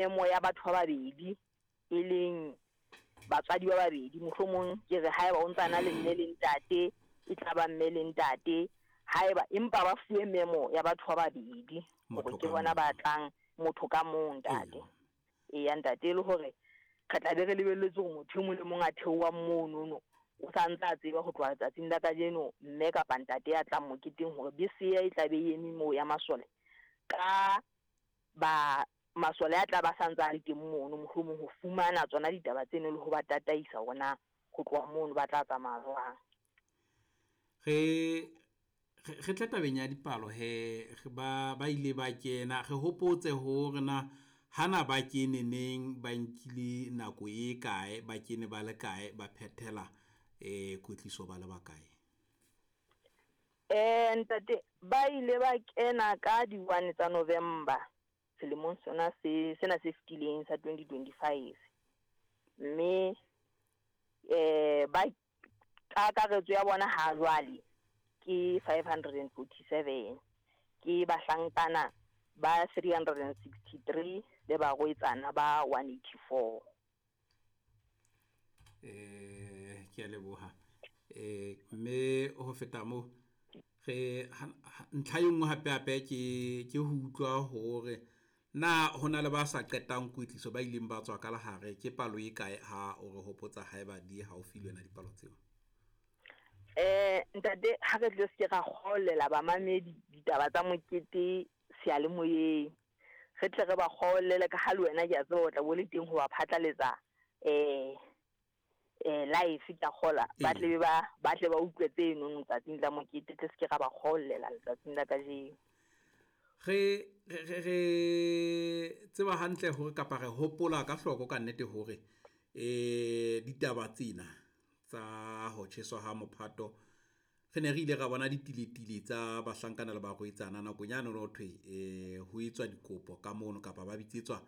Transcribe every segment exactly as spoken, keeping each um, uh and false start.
Memo ya batho ba babedi, e leng batswadi ba babedi. Mohlomong ke re haeba o ntsana le mme le ntate, e tla ba mme le ntate. Haeba empa ba fuwe memo ya batho ba babedi hore Motho ke ka bona mong. Ba tlang, motho ka mong, ntate. Eya ntate, e le hore re tla be re lebelletse hore motho e mong le mong a theohang monono o santse a tseba ho tloha letsatsing la kajeno mme kapa ntate ya tlang moketeng hore bese e tla be e eme moo ya masole ka ba masole a tla ba santse a le teng mono, mohlomong ho fumana tsona ditaba tseno le ho ba tataisa hore na ho tloha mono ba tla tsamaya jwang. Re re tle tabeng ya dipalo he, ba ba ile ba kena, re hopotse hore na hana ba kene neng, ba nkile nako e kae, ba kene ba le kae, ba phethela eh kwetliso ba le bakae? Eh ntate, ba ile ba kena ka di one tsa November selemong sona se sena se fetileng sa twenty twenty-five. Mme eh ba kakaretso ya bona ha jwale ke five hundred and forty-seven, ke bahlankana ba three hundred and sixty-three le barwetsana ba one eighty-four. Eh ke a leboha. Eh mme ho feta moo, re ntlha e nngwe hape hape ke ke ho utlwa hore na hona le ba sa qetang kwetliso ba ileng ba tswa ka lehare, ke palo e kae ha o re hopotsa haeba di haufi le wena dipalo tseo? Eh ntate, ha re tle se ra kgolela bamamedi ditaba tsa mokete seyalemoyeng, re tle re ba kgolele ka ha le wena ke a tseba o tla bo le teng ho ba phatlaletsa eh eh live ka kgola, ba tle ba ba tle ba utlwe tseno letsatsing la mokete, tle se ke ra ba kgolela letsatsing la kajeno. Re re re tseba hantle hore kapa re hopola ka hloko ka nnete hore eh ditaba tsena tsa ho tjheswa ha mophato re ne re ile ra bona ditiletile tsa bahlankana le barwetsana nakong yane ho thwe eh ho etswa dikopo ka mono kapa ba bitsetswa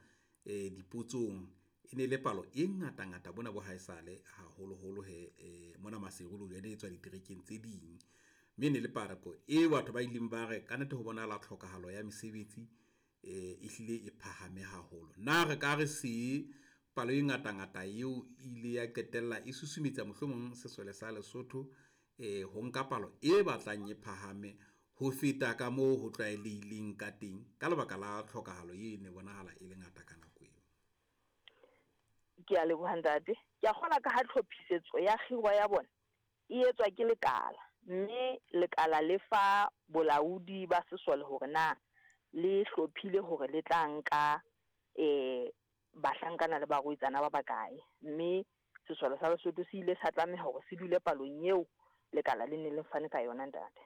eh dipotsong. E ne le palo e ngata ngata bona bo haesale haholoholo he eh mona Maseru le ene e tswa diterekeng tse ding, mme ne le palo e batho ba ileng ba re ka nnete ho bonahala tlhokahalo ya mesebetsi eh e hlile e phahame haholo. Na re ka re se palo e ngata ngata eo ile ya qetella e susumetsa mohlomong sesole sa Lesotho eh ho nka palo e batlang e phahame ho feta ka moo ho tlwaelehileng ka teng ka lebaka la tlhokahalo e ne bonahala e le ngata ka nako eo? Ke a leboha ntate. Ke a kgola ka ha tlhophisetso ya kgiro ya bona e etswa ke lekala, mme lekala le fa bolaodi ba sesole hore na le hlophile hore le tla nka eh bahlankana le barwetsana ba bakae, mme sesole sa Lesotho se ile sa tlameha hore se dule palong eo lekala le ne le fane ka yona ntate.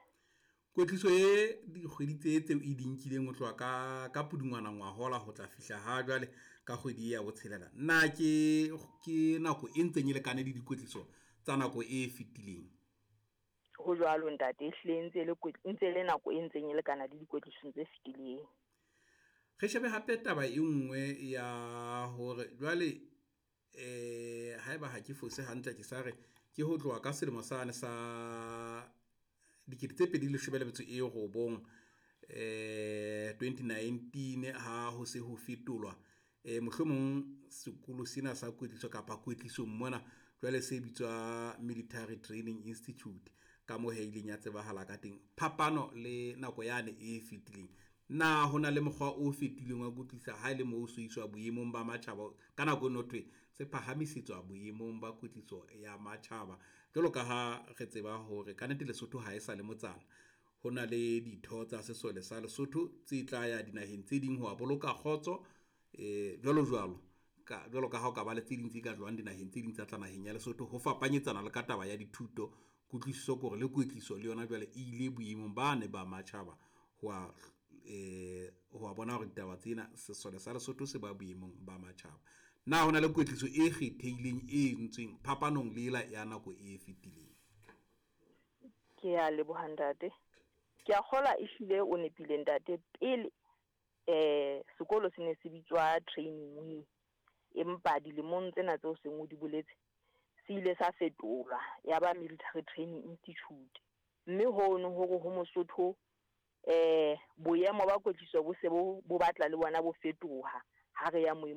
Kwetliso e dikgwedi tse tseo e di nkileng ho tloha ka ka Pudungwana ngwahola ho tla fihla ha jwale ka kgwedi ya botshelela, na ke ke nako e ntseng e lekane le dikwetliso tsa nako e fetileng? Ho jwalo ntate, ehlile ntse le ntse le nako e ntseng e lekana le dikwetlisong tse fetileng. Re shebe hape taba e nngwe ya hore jwale eh haeba ha ke fose hantle ke sa re ke ho tloha ka selemo sane sa dikete tse pedi leshome le metso e robong eh twenty nineteen ha ho se ho fetolwa eh mohlomong sekolo sena sa kwetliso kapa kwetlisong mona jwale se bitswa Military Training Institute ka moo he ileng ya tsebahala ka teng. Phapano le nako yane e fetileng, na hona le mokgwa o fetileng wa kwetlisa ha e le moo so iswa boemong ba matjhaba ka nako eno thwe se phahamisetswa boemong ba kwetliso ya matjhaba, jwalo ka ha re tseba hore ka nnete Lesotho ha e sa le motsana, ho na le ditho tsa sesole sa Lesotho tse tla ya dinaheng tse ding ho boloka kgotso eh jwalo jwalo ka jwalo ka ha o ka ba le tse ding tse ka tlohang dinaheng tse ding tsa tla naheng ya Lesotho ho fapanyetsana le ka taba ya dithuto. Kutlwisiso ke hore le kwetliso le yona jwale e ile boemong ba ne ba matjhaba ho a eh ho a bona hore ditaba tsena sesole sa Lesotho se ba boemong ba matjhaba. Na hona le kwetliso e kgethehileng e entsweng phapanong le ela ya nako e fetileng? Ke a leboha ntate. Ke a kgolwa ehlile o nepile ntate. Pele eh sekolo se ne se bitswa training wing, empa dilemong tsena tseo seng o di boletse se ile sa fetolwa ya ba Military Training Institute, mme hono hore ho Mosotho eh boemo ba kwetliso bo se bo bo batla le bona bo fetoha. Ha re ya moemong.